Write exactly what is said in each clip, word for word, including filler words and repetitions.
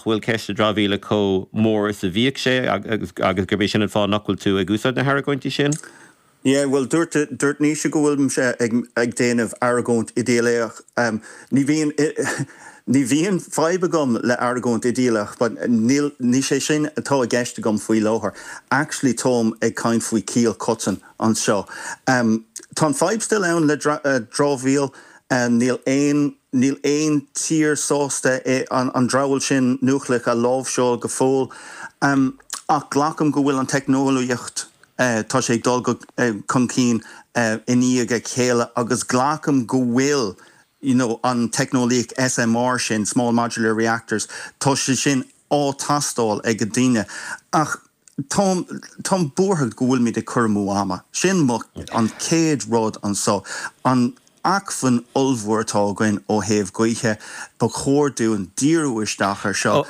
bhfuil ceist na dramhaíola chomh mór is a bhíodh sé agus agus gurb é sin an fáth nach bhfuil tú ag úsáid na hargóintí sin? Yeah, well dúirt dúirt Naoise go bhfuil ag ag déanamh argóint idéalach. Um, ní bhíonn ní bhíonn fadhb agam le argóint idéalach, but níl ní sé sin atá i gceist agam faoi láthair. Actually táim ag caint faoi chiall choiteann anseo. Um, tá an fadhb still ann le uh, dramhaíl um, níl aon níl aon tír sásta é an, an dramhaíl sin núicléach a láimhseáil go fóill. Um, ach glacaim go bhfuil an teicneolaíocht Uh, tá sé dul go uh, chun cinn uh, i ndiaidh a chéile agus glacaim go bhfuil you know, an teicneolaíocht SMR sin small modular reactors tá sé sin á tástáil ag daoine ach Tá buartha go bhfuil muid ag cur amú ama. Sin mo an chéad rud anseo an acmhainn ollmhór atá againn ó thaobh gaoithe ba chóir dúinn díriú isteach ar seo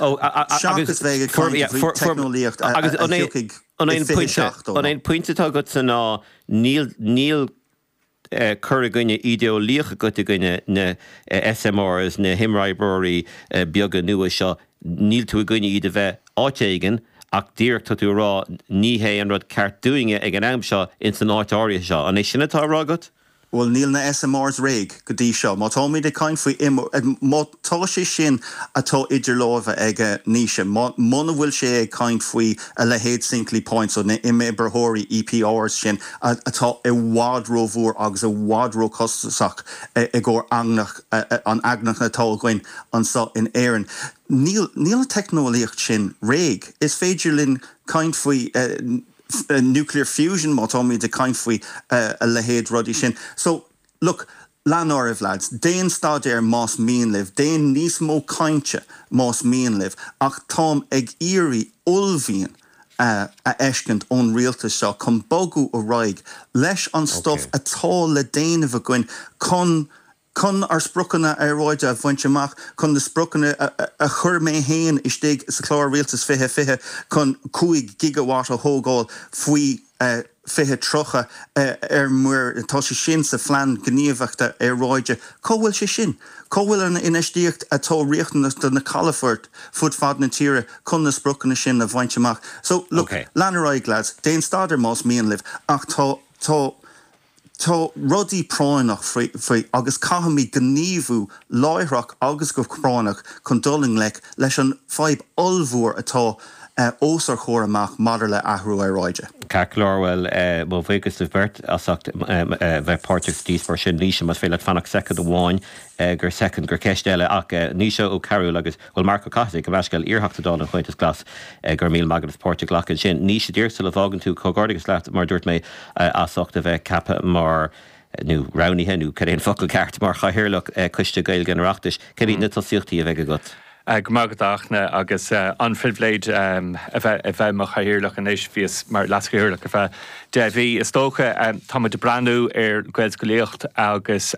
seachas bheith ag teicneolaíocht An é pointe atá agat san ná níl níl eh, cur i gcoinne idéalaíoch agat i gcoinne na eh, SMRs na himoibreoirí eh, beaga nua seo níl tú i gcoinne iad a bheith áit éigin ach díreach tá tú rá ní hé an rud ceart dúinne ag an am seo in san áit áirithe seo. An é sin atá á rá agat? Well níl na SMRs réidh go dtí seo, má táimid ag caint faoi má tá sé sin atá idir lámha ag Naoise, muna bhfuil sé ag caint faoi a leithéid Hinkley Point so na imoibreoirí EPRs sin atá i bhfad rómhór agus i bhfad róchostasach i gcomhair eangach an eangach atá againn anseo in Éirinn. Níl níl an teicneolaíocht sin réidh. Is féidir linn caint faoi uh, nuclear fusion má táimid ag caint faoi uh, a leithéid rudaí sin. So look, lean oraibh lads, déan staidéar más mian libh, déan níos mó cainte más mian libh, ach táim ag iarraidh uaillmhian uh, a fheiscint ón rialtas seo chun bogadh ar aghaidh leis an stuff okay. atá le déanamh againn chun chun ár spriocanna aeráide a bhaint amach chun na spriocanna a chuir mé féin istigh sa chlár rialtas fiche fiche chun cúig gigawatt a thógáil faoi uh, fiche tríocha uh, ar muir tá sé sin sa phlean gníomhaíochta aeráide. Cá bhfuil sé sin? Cá bhfuil an infheistíocht atá riachtanach do na calafoirt fud fad na tíre chun na spriocanna sin a bhaint amach. So look, okay. lean ar aghaidh lads, déan staidéar más mian libh ach tá tá Tá rudaí práinneach faoi agus caithfimid gníomhú láithreach agus go práinneach chun dul i ngleic leis an fadhb ollmhór atá uh, os ár gcomhair amach maidir le athrú aeráide. Ceart go leor well uh, mo bhuíochas libh beirt as ucht um, uh, bheith páirteach sa díospóireacht sin Naoise más féidir leat fanacht soicind amháin uh, gur soicind gur ceist eile ach uh, Naoise Ó Cearúil agus bhfuil Marc Ó Cathasaigh go meisceil iarTheachta Dála an Chomhaontas Glas uh, gur míle maith agat páirt a ghlacadh sin. Naoise díreach sula bhfágann tú comhghairdeas leat mar dúirt mé uh, as ucht a bheith ceaptha mar nó roghnaithe nó cad é an focal ceart mar chathaoirleach Coiste Gaeilge an Oireachtais, cad iad na tosaíochtaí a bheidh agat. Go maith agat agus an phribhléid a bheith mar chathaoirleach anois bhíos mar leaschathaoirleach ar feadh deich mí is dócha táimid ag breathnú ar Ghaelscolaíocht agus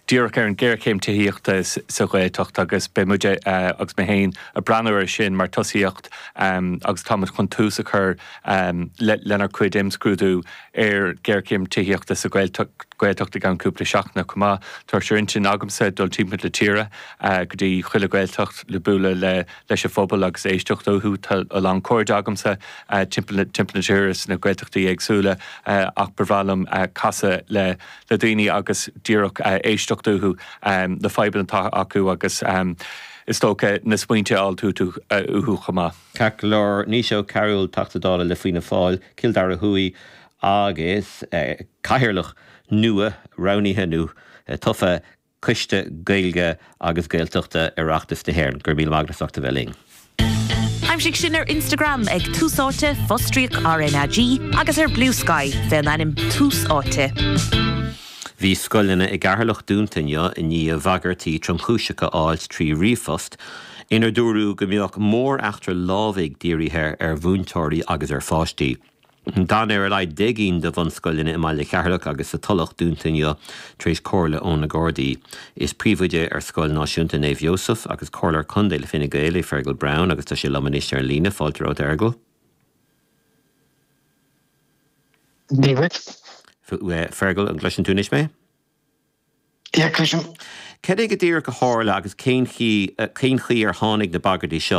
díreach ar an géarchéim tithíochta sa Ghaeltacht agus beidh muid agus mé féin ag breathnú ar sin mar tosaíocht agus táimid chun tús a chur lenár cuid imscrúdú ar géarchéim tithíochta sa Ghaeltacht i gceann cúpla seachtain chomh maith tá sé ar intinn agamsa dul timpeall na tíre go dtí chuile Ghaeltacht le bualadh le leis an phobal agus éisteacht uathu tá a lán cairde agamsa timpeall timpeall na tíre sna Gaeltachtaí éagsúla ach ba bhreá liom casadh le le daoine agus díreach éisteacht uathu na fadhbanna atá acu agus is dócha na smaointe a fháil uathu chomh maith. Ceart go leor Naoise Ó Cearúil Teachta Dála le Fianna Fáil, Cill Dara Thuaidh agus cathaoirleach nua roghnaithe nó tofa Coiste Gaeilge agus Gaeltachta Oireachtas na hÉireann, gur míle maith agat as ucht a bheith linn. Aimsigh sinn ar Instagram ag Tús Áite fostríoc RnaG agus ar Bluesky fén ainm Tús Áite. Bhí scoileanna i gCeatharlach dúnta inniu i ndiaidh bhagairtí tromchúiseacha a fháil trí ríomhphost, inar dúradh go mbeadh mór-eachtra lámhaigh dírithe ar mhúinteoirí agus ar pháistí. D'fhan ar a laghad deich gcinn de bhunscoileanna i mbaile Cheatharlach agus sa Tulach dúnta inniu tar éis comhairle ó na Gardaí. Is príomhoide ar Scoil Náisiúnta Naomh Iósaf agus Comhairleoir Contae le Fine Gael é Fergal Brown agus tá sé liom anois ar an líne. Fáilte romhat a Fheargail. Dia duit. Fergal, an gcloiseann tú anois mé? Yeah, cloisim. Cad é go díreach a tharla agus cén chaoi cén chaoi ar tháinig na bagairtí seo